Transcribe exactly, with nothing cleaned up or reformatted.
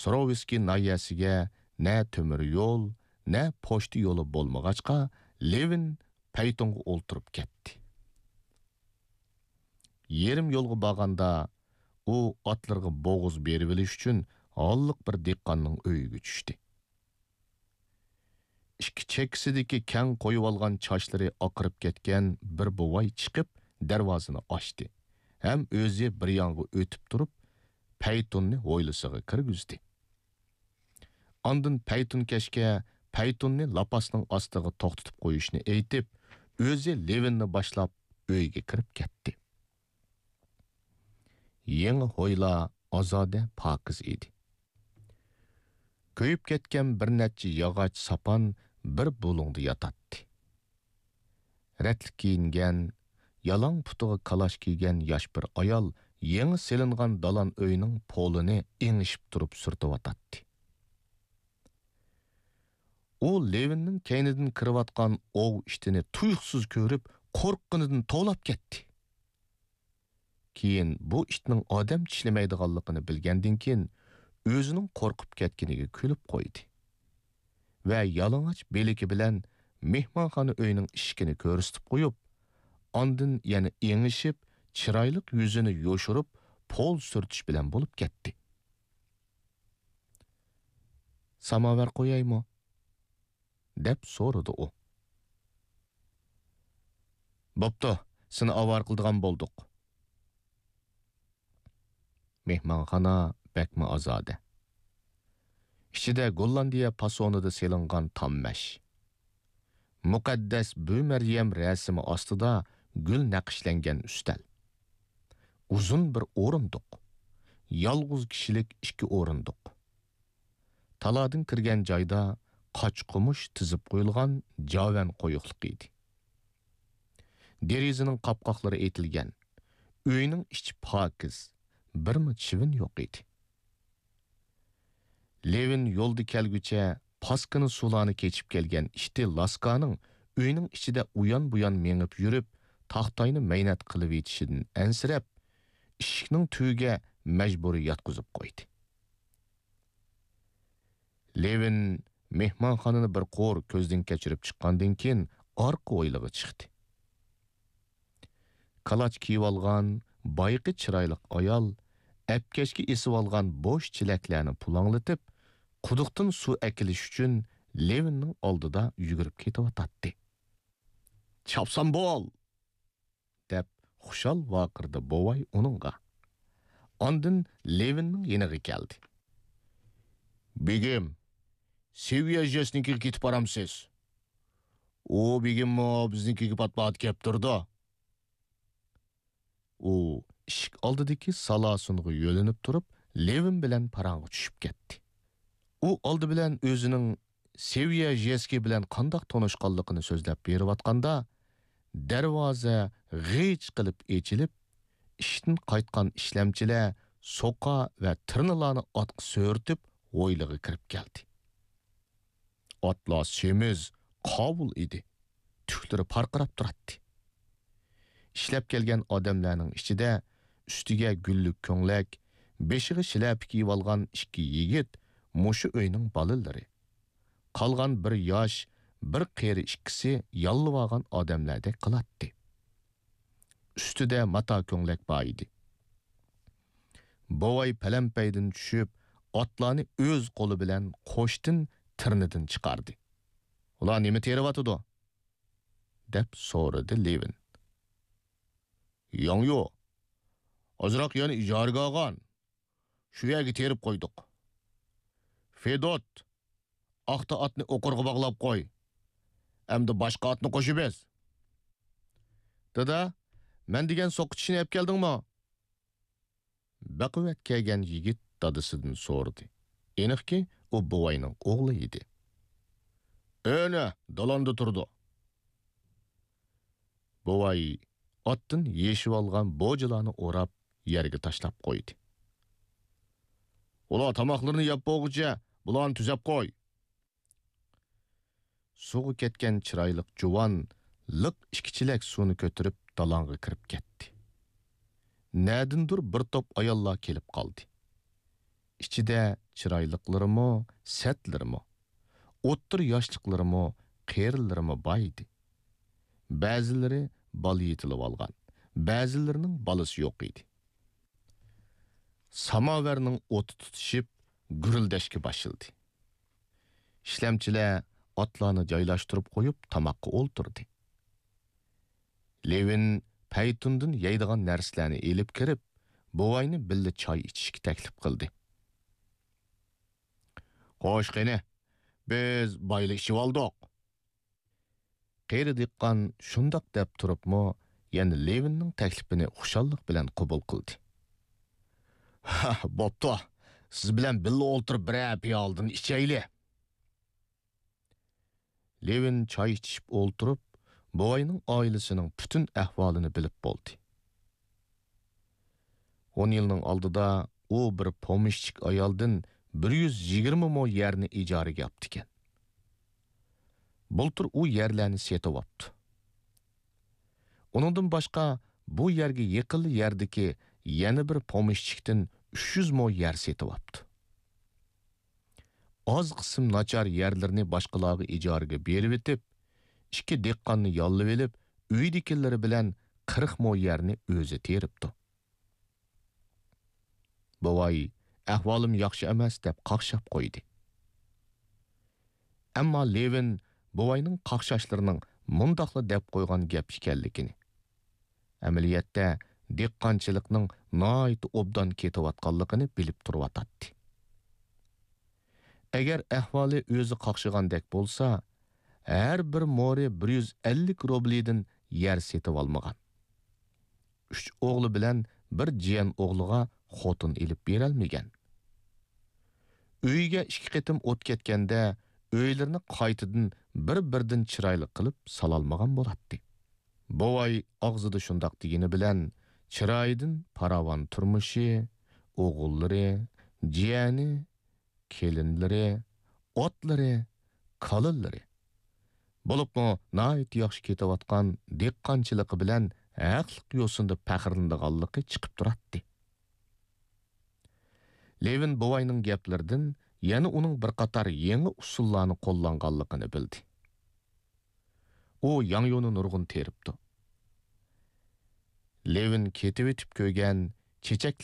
سروۋسكىي ناھىيەسىگە نە تۆمۈر يول، نە پوچتا يولى بولمىغاچقا، لېۋىن پەيتۇنغا ئولتۇرۇپ كەتتى. يېرىم يولغا بارغاندا، ئۇ ئاتلىرىغا بوغۇز بېرىۋېلىش ئۈچۈن ھاللىق بىر دېھقاننىڭ ئۆيىگە چۈشتى. ئىككى چەككىسىدىكى كەڭ قويۇۋالغان چاچلىرى ئاقىرىپ كەتكەن بىر بوۋاي چىقىپ، دەرۋازىنى ئاچتى ھەم ئۆزى بىر يانغا ئۆتۈپ تۇرۇپ، پەيتۇننى ھويلىسىغا كىرگۈزدى. ئاندىن پەيتۇنكەشكە پەيتۇننى لاپاسنىڭ ئاستىغا توختىتىپ قويۇشنى ئېيتىپ، ئۆزى لېۋىننى باشلاپ ئۆيگە كىرىپ كەتتى. يېڭى ھويلا ئازادە، پاكىز ئىدى. كۆيۈپ كەتكەن بىر نەچچە ياغاچ ساپان بىر بۇلۇڭدا ياتاتتى. رەتلىك كىيىنگەن، يالاڭ پۇتىغا كالاچ كىيگەن ياش بىر ئايال يېڭى سېلىنغان دالان ئۆينىڭ پولىنى ئېڭىشىپ تۇرۇپ سۈرتۈۋاتاتتى. ئۇ لېۋىننىڭ كەينىدىن كىرىۋاتقان ئوۋ ئىتىنى تۇيۇقسىز كۆرۈپ، قورققىنىدىن توۋلاپ كەتتى. كېيىن بۇ ئىتنىڭ ئادەم چىشلىمەيدىغانلىقىنى بىلگەندىن كېيىن، ئۆزىنىڭ قورقۇپ كەتكىنىگە كۈلۈپ قويدى ۋە يالىڭاچ بىلىكى بىلەن مېھمانخانا ئۆينىڭ ئىشىكىنى كۆرسىتىپ قويۇپ، ئاندىن يەنە ئېڭىشىپ، چىرايلىق يۈزىنى يوشۇرۇپ، پول سۈرتۈش بىلەن بولۇپ كەتتى. «ساماۋار قويايمۇ؟» دەپ سورىدى ئۇ. «بوپتۇ، سېنى ئاۋارە قىلىدىغان بولدۇق.» مېھمانخانا بەكمۇ ئازادە. ئىچىدە گوللاندىيە پاسونىدا سېلىنغان تام مەش. مۇقەددەس بۈ مەريەم رەسىمى ئاستىدا گۈل نەقىشلەنگەن ئۈستەل. ئۇزۇن بىر ئورۇندۇق. يالغۇز كىشىلىك ئىككى ئورۇندۇق. تالادىن كىرگەن جايدا قاچا-قومۇش تىزىپ قويۇلغان جاۋەن قويۇقلۇق ئىدى. دېرىزىنىڭ قاپقاقلىرى ئېتىلگەن. ئۆينىڭ ئىچى پاكىز، بىرمۇ چىۋىن يوق ئىدى. لېۋىن يولدا كەلگۈچە پاسكىنا سۇلارنى كېچىپ كەلگەن ئىتى لاسكانىڭ ئۆينىڭ ئىچىدە ئۇيان-بۇيان مېڭىپ يۈرۈپ، تاختاينى مەينەت قىلىۋېتىشىدىن ئەنسىرەپ، ئىشىكنىڭ تۈۋىگە مەجبۇرىي ياتقۇزۇپ قويدى. لېۋىن مېھمانخانىنى بىر قۇر كۆزدىن كەچۈرۈپ چىققاندىن كېيىن، ئارقا ھويلىغا چىقتى. كالاچ كىيىۋالغان، بايىقى چىرايلىق ئايال ئەپكەشكە ئېسىۋالغان بوش چېلەكلەرنى پۇلاڭلىتىپ، قۇدۇقتىن سۇ ئەكېلىش ئۈچۈن لېۋىننىڭ ئالدىدا يۈگۈرۈپ كېتىۋاتاتتى. «چاپسان بول!» دەپ خۇشال ۋارقىرىدى بوۋاي ئۇنىڭغا. ئاندىن لېۋىننىڭ يېنىغا كەلدى. «بېگىم، سېۋىيە ژېسنىڭكىگە كېتىپ بارامسىز؟ ئۇ بېگىممۇ بىزنىڭكىگە پات-پات كەپ تۇرىدۇ.» ئۇ ئىشىك ئالدىدىكى سالاسۇنغا يۆلىنىپ تۇرۇپ، لېۋىن بىلەن پاراڭغا چۈشۈپ كەتتى. ئۇ ئالدى بىلەن ئۆزىنىڭ سېۋىيە ژېسكى بىلەن قانداق تونۇشقانلىقىنى سۆزلەپ بېرىۋاتقاندا، دەرۋازا غىچ قىلىپ ئېچىلىپ، ئىشتىن قايتقان ئىشلەمچىلەر سوقا ۋە تىرنىلارنى ئاتقا سۆرىتىپ، ھويلىغا كىرىپ كەلدى. ئاتلار سېمىز، قاۋۇل ئىدى. تۈكلىرى پارقىراپ تۇراتتى. ئىشلەپ كەلگەن ئادەملەرنىڭ ئىچىدە ئۈستىگە گۈللۈك كۆڭلەك، بېشىغا شىلەپە كىيىۋالغان ئىككى يىگىت مۇشۇ ئۆينىڭ بالىلىرى. قالغان بىر ياش، بىر قېرى ئىككىسى ياللىۋالغان ئادەملەردەك قىلاتتى. ئۈستىدە ماتا كۆڭلەك بار ئىدى. بوۋاي پەلەمپەيدىن چۈشۈپ، ئاتلارنى ئۆز قولى بىلەن قوشتىن تىرنىدىن چىقاردى. «ئۇلار نېمە تېرىۋاتىدۇ؟» دەپ سورىدى لېۋىن. «ياڭيۇ، ئازراق يەرنى ئىجارىگە ئالغان. شۇ يەرگە تېرىپ قويدۇق. فېدوت، ئاختا ئاتنى ئوقۇرغا باغلاپ قوي. ئەمدى باشقا ئاتنى قوشۇۋېز.» «دادا، مەن دېگەن سوقا چىشىنى ئەپ كەلدىڭمۇ؟» بەقۇۋۋەت كەلگەن يىگىت دادىسىدىن سورىدى. ئېنىقكى، ئۇ بوۋاينىڭ ئوغلى ئىدى. «ئەنە، دالاندا تۇرىدۇ.» بوۋاي ئاتتىن يېشىۋالغان بوجىلارنى ئوراپ، يەرگە تاشلاپ قويدى. «ئۇلار تاماقلىرىنى يەپ بولغۇچە، بۇلارنى تۈزەپ قوي.» سۇغا كەتكەن چىرايلىق جۇۋان لىق ئىككى چېلەك سۇنى كۆتۈرۈپ، دالاڭغا كىرىپ كەتتى. نەدىندۇر بىر توپ ئاياللار كېلىپ قالدى. ئىچىدە چىرايلىقلىرىمۇ، سەتلىرىمۇ، ئوتتۇرا ياشلىقلىرىمۇ، قېرىلىرىمۇ بار ئىدى. بەزىلىرى بالا يېتىلىۋالغان، بەزىلىرىنىڭ بالىسى يوق ئىدى. ساماۋەرنىڭ ئوتى تۇتىشىپ، گۈرۈلدەشكە باشلىدى. ئىشلەمچىلەر ئاتلارنى جايلاشتۇرۇپ قويۇپ، تاماققا ئولتۇردى. لېۋىن پەيتۇندىن يەيدىغان نەرسىلەرنى ئېلىپ كىرىپ، بوۋاينى بىللە چاي ئىچىشكە تەكلىپ قىلدى. «خوش، قېنى، بىز بايىلا ئىچىۋالدۇق.» قېرى دېھقان شۇنداق دەپ تۇرۇپمۇ، يەنە لېۋىننىڭ تەكلىپىنى خۇشاللىق بىلەن قوبۇل قىلدى. «ھە، بوپتۇ، سىز بىلەن بىللە ئولتۇرۇپ بىرەر پىيالىدىن ئىچەيلى.» لېۋىن چاي ئىچىشىپ ئولتۇرۇپ، بوۋاينىڭ ئائىلىسىنىڭ پۈتۈن ئەھۋالىنى بىلىپ بولدى. ئون يىلنىڭ ئالدىدا ئۇ بىر پومېشچىك ئايالدىن بىر يۈز يىگىرمە مو يەرنى ئىجارىگە ئاپتىكەن. بۇلتۇر ئۇ يەرلەرنى سېتىۋاپتۇ. ئۇنىڭدىن باشقا، بۇ يەرگە يېقىنلا يەردىكى يەنە بىر پومېشچىكتىن ئۈچ يۈز مو يەر سېتىۋاپتۇ. ئاز قىسىم ناچار يەرلىرىنى باشقىلارغا ئىجارىگە بېرىۋېتىپ، ئىككى دېھقاننى ياللىۋېلىپ، ئۆيىدىكىلىرى بىلەن قىرىق مو يەرنى ئۆزى تېرىپتۇ. بوۋاي، «ئەھۋالىم ياخشى ئەمەس» دەپ قاقشاپ قويدى. ئەمما لېۋىن بوۋاينىڭ قاقشاشلىرىنىڭ مۇنداقلا دەپ قويغان گەپ ئىكەنلىكىنى، ئەمەلىيەتتە دېھقانچىلىقنىڭ ناھايىتى ئوبدان كېتىۋاتقانلىقىنى بىلىپ تۇرۇۋاتاتتى. ئەگەر ئەھۋالى ئۆزى قاقشىغاندەك بولسا، ھەر بىر مورى بىر يۈز ئەللىك روبلىدىن يەر سېتىۋالمىغان. ئۈچ ئوغلى بىلەن بىر جىيەن ئوغلىغا خوتۇن ئېلىپ بېرەلمىگەن. ئۆيىگە ئىككى قېتىم ئوت كەتكەندە، ئۆيلىرىنى قايتىدىن بىر-بىردىن چىرايلىق قىلىپ سالالمىغان بولاتتى. بوۋاي ئاغزىدا شۇنداق دېگىنى بىلەن، چىرايىدىن پاراۋان تۇرمۇشى، ئوغۇللىرى، جىيەنى، كېلىنلىرى، ئاتلىرى، كالىلىرى، بولۇپمۇ ناھايىتى ياخشى كېتىۋاتقان دېھقانچىلىقى بىلەن ھەقلىق يوسۇندا پەخىرلىنىدىغانلىقى چىقىپ تۇراتتى. لېۋىن بوۋاينىڭ گەپلىرىدىن يەنە ئۇنىڭ بىر قاتار يېڭى ئۇسۇللارنى قوللانغانلىقىنى بىلدى. ئۇ ياڭيۇنى نۇرغۇن تېرىپتۇ. لېۋىن كېتىۋېتىپ كۆرگەن چېچەكلەپ